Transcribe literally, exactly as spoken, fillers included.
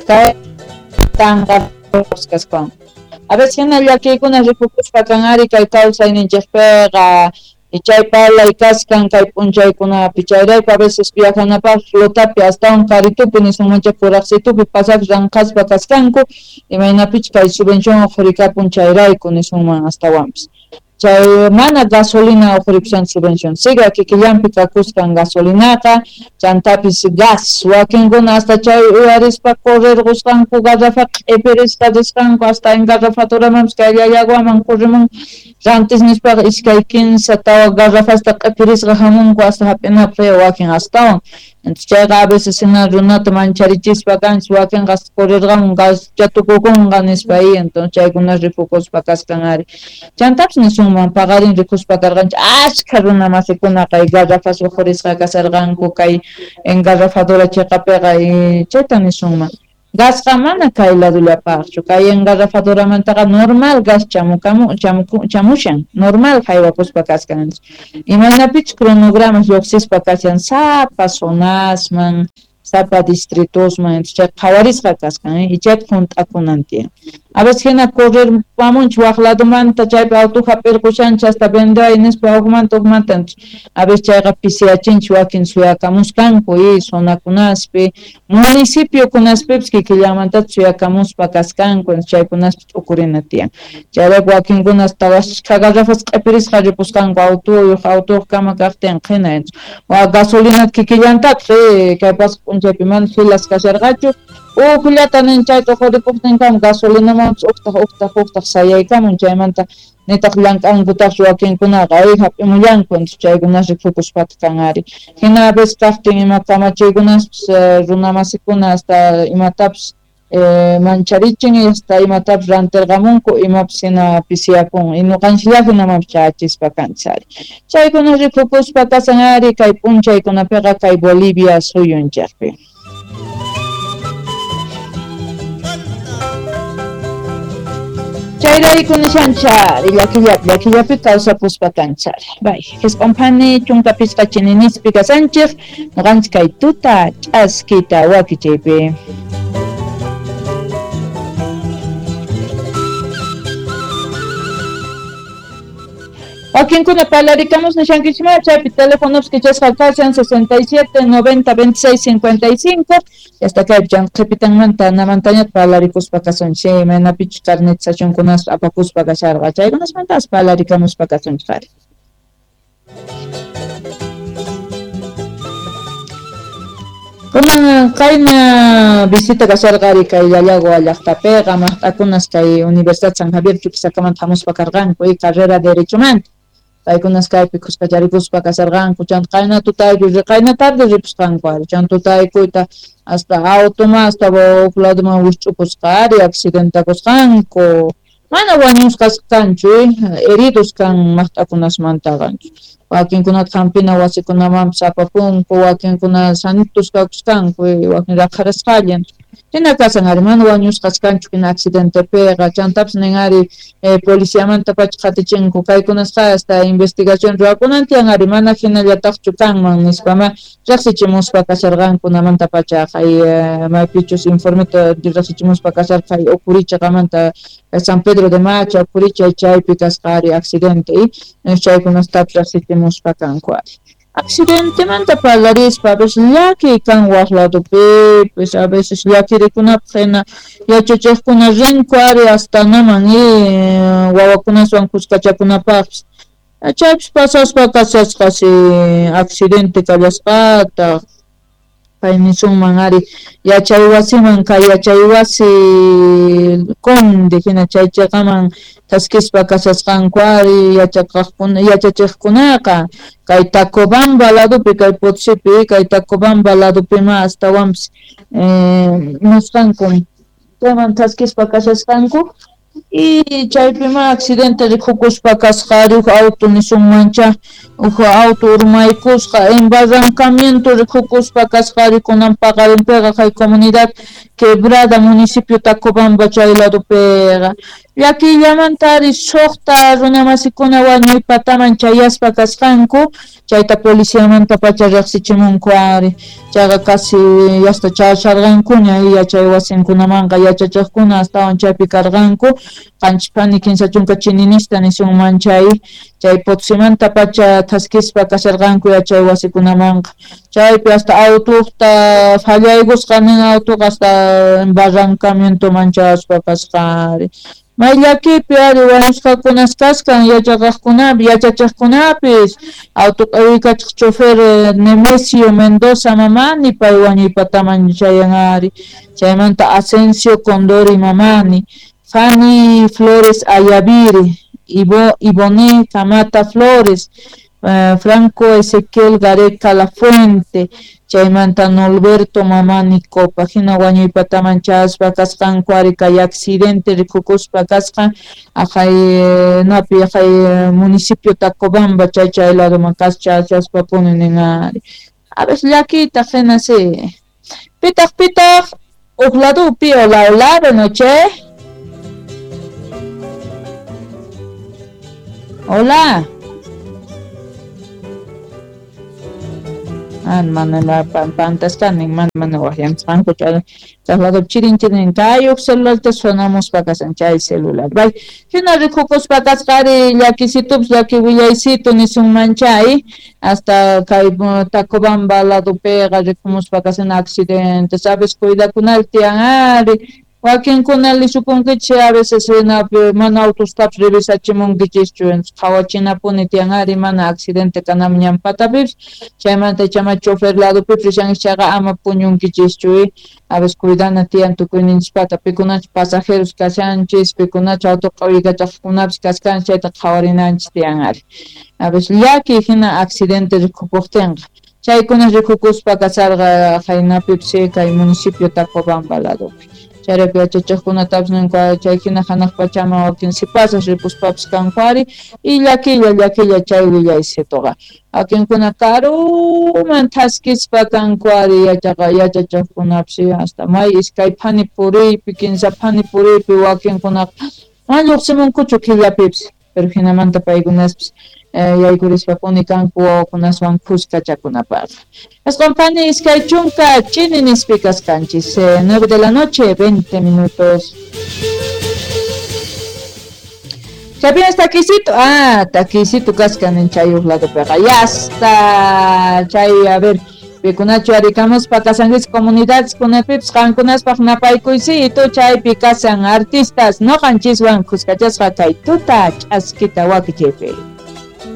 Kay tanqasqan. A veces hina llakiykuna rikukuspa kan ari kay kawsayninchikpiqa chay parlay kaskan kay p'unchaykunapi chayrayku a veces viajanapaq flotapi astawan karitupi nisunmanchik kuraqsitupi pasaq ranqaspa kaskanku imaynapichus kay subvención uqhurikapun chayrayku nisunman astawanpis chay mana gasolina uqhurikushan subvención siga kikillanpi kakuskan gasolinaqa chantapis gas wakinkuna hasta chay uyarispa correrqusqanku garrafa q'ipirisqa risqanku hasta engarrafaduramanpis kay Llallaguaman corrimun rantis nispaqa iskay kinsa tawa garrafasta q'ipirisqa hamunku hasta hap'inapaq wakin astawan entonces chayqa a veces hina runata mancharichispa kanchis wakinqa hasta correrqamun gascha tukukunqa nispa y entonces chaykuna rikukuspa kaskan ari chantapis nisunman paqarin rikuspa karqanchik ashkha runa masikuna kay garrafas uqhurisqa kasarqanku kay engarrafadora chiqapiqa y chayta nisunman gasqa mana kay ladullapaqchu kay engarrafadoramantaqa normal gas chamukamu chamuku chamushan normal haywakuspa kaskan imaynapichus cronogramas lluqsispa kashan sapa zonasman sapa distritosman chay qhawarisqa kaskan ichayta hunt'akunan tiyan a veces hina correr pamunchik waq ladumanta chaypi auto hap'irqushanchik hasta vendeway nispa hukmanta hukmanta a veces chayqa pisiyachinchik wakin suyakamuskanku y zonakunaspi municipiokunaspipis kikillanmantata suyakamuspa kaskanku chaykunaspi t'ukurina tiyan chayrayku wakinkuna hasta ashkha garrafas q'ipirisqa ripusqanku autoyuq autoyuq kama kaqtin qhina wa gasolinata kikillantataq kay pasaq p'unchaypi mana filas kasharqachu ujllata nin chayta uqhurikuqtinkama gasolinamanpis uqtaq uqtaq uqtaq sayaykamun chaymanta nitaq llank'ankutaqchu wakinkunaqa ay hap'imullanku entonces chaykunas rikukuspataq kan ari hina a veces kaqtin ima kamachiykunaspis runamasikuna hasta imatapis eh, mancharichin hasta imatapis rantirqamunku imapis hina pisiyapun y ñuqanchiklla hinamanpis chayachispa kanchis ari chaykuna rikukuspa kasan ari kay p'unchaykunapiqa kay Bolivia suyunchikpi. Chayrayku nishanchari llakillapi llakillapi kawsapuspa kanchari bay Jesq'unphani chunka pichqa chininispi kasanchik ñuqanchik kay tuta ch'askita wakichaypi. Wakinkuna parlarikamos nishankichikman chaypi teléfonos kichasqa kashan sesenta y siete noventa veintiséis cincuenta y cinco hasta kaypi chan qhipitanmanta namantañata parlarikuspa kasunchik imaynapichus carnetizacionkunas apakuspa kasharqa chaykunasmantas parlarikamuspa kasunchik ari. Kunan qayna visita kasharqa ari kay Llallagua llaqtapiqa maqt'akunas kay Universidad San Javier Chuquisacaman hamuspa karqanku y carrera derechomanta paykunas kaypi khuskacharikuspa kasarqanku chanta qayna tutayku qayna tarde ripusqanku ari chanta tutaykuyta hasta automan hasta huk laduman wisch'upusqa ari accidentakusqanku mana wañusqas kanchu heridos kan maqt'akunasmantaqa wakinkunata hampina wasikunamanpis apapunku wakinkuna sanitos kakusqanku wakin raqharasqalla hina kasan ari mana wañusqas kanchu hina accidentepiqa chantapis nin ari eh, policiamanta pacha qhatichinku kaykunasqa hasta investigación ruwakunan tiyan ari mana hinallataqchu kanman nispama riqsichimuspa kasharqanku namanta pacha kay eh, maypichus informeta riqsichimuspa kasharqa kay Ucurichaqamanta San Pedro de Macha Ucuricha chaypi kasqa ari accidente y chaykunastapis riqsichimuspa kanku ari. Accidentemanta parlarispa a veces llaki kan waq ladupipis a veces llakirikunapaq hina yachachiqkuna rinku ari hasta naman y wawakunaswan kuskachakunapaqpis chaypis pasaspa kashasqasi accidente kallasqataq kay nisunman ari yachay wasiman kay yachay wasi Conde hina chay chiqaman thaskispa kashasqanku ari yachaqaqkuna yachachiqkunaqa kay Tacobamba ladupi kay Potosipi kay Tacobamba ladupima astawanpis eh, nisqanku chayman thaskispa kashasqanku y chaypima accidente rikukuspa kasqa ari huk auto nisunmancha huk auto urmaykusqa embarrancamiento rikukuspa kasqa ari kunan paqarinpiqa kay comunidad Quebrada municipio Tacobamba chay ladopiqa llakillamanta ari suqta runamasikuna wañuy pataman chayaspa kasqanku chayta policiamanta pacha riqsichimunku ari chayqa casi hasta chayasharqankuña yachay wasinkunamanqa yachachiqkuna astawan chaypi karqanku qanchispani kinsa chunka chininista nisunman chay chay Potosímanta pacha thaskispa kasharqanku yachay wasikunamanqa chaypi hasta autuqta fallaykusqa nin autuqa hasta barrancamientoman chayaspa kasqa ari may llakipi ari wañusqakunas kaskan yachaqaqkunapi yachachiqkunapis auto q'awikachiq chofer Nemesio Mendoza Mamani pay wañuy pataman chayan ari chaymanta Asensio Condori Mamani Fanny Flores Ayaviri Ivo, Ivone Camata Flores uh, Franco Ezequiel Gareca La Fuente chaymanta Norberto Mamani Copa hina wañuy pataman chayaspa kasqanku ari kay accidente rikukuspa kasqan aqhay napi aqhay municipio Tacobamba chay chay ladoman kas chayaspapuni nin ari a veces llakiytaq hina si pitaq pitaq uq ladopi hola hola buenas noches. Hola. Ah, mana pantasqani mana mana waqyamusqanku chay traslado chirin chirin kay uq celularta sonamuspa kasan chay celular bay hina rikukuspa kasqa ari llakisitupis llaki willaysitu nisunman chay hasta kay Tacobamba ladopiqa rikumuspa kasan accidente sabes cuidakunal tiyan ari wakinkuna lisukunkichik a veces hinapi mana autostapis revisachimunkichischu qhawachinapuni tiyan ari mana accidente kanaman ñan patapipis chaymanta chama chofer ladopipis rishanchis chayqa ama puñunkichischu a veces cuidana tiyan tukuyninchispata pikunachus pasajeros kashanchis pikunachus auto q'awikachaqkunapis kaskanchis chayta qhawarinanchis tiyan ari a veces llaki hina accidente rikupuqtinqa chaykuna rikukuspa kasarqa haynapipis kay municipio Tacobamba ladopi chayrayku yachachiqkunatapis ninku chay hina hanaq pachaman wakin sipasas ripuspapis kanku ari y llakilla llakilla chay willaysituqa wakinkuna karuman thaskispa kanku ari yachaqa yachachiqkunapis hasta may iskay phani puriypi kinsa phani puriypi wakinkunaqa mana lluqsimunkuchu killapipis pero hinamanta paykunaspis yaykurispapuni kanku wawakunaswan khuskachakunapaq. Aswan phani iskay chunka chini nispi kasqanchis nueve de la noche veinte minutos. Chaypinas taquisito, ah, taquisito kaskan chay uq ladopiqa ya hasta chay a ver pikunachu arikamuspa kasanchis comunidades kunapipis qankunaspaq napaykuysito chaypi kasan artistas noqanchiswan khuskachasqa kay tuta ch'askita wakichiypi.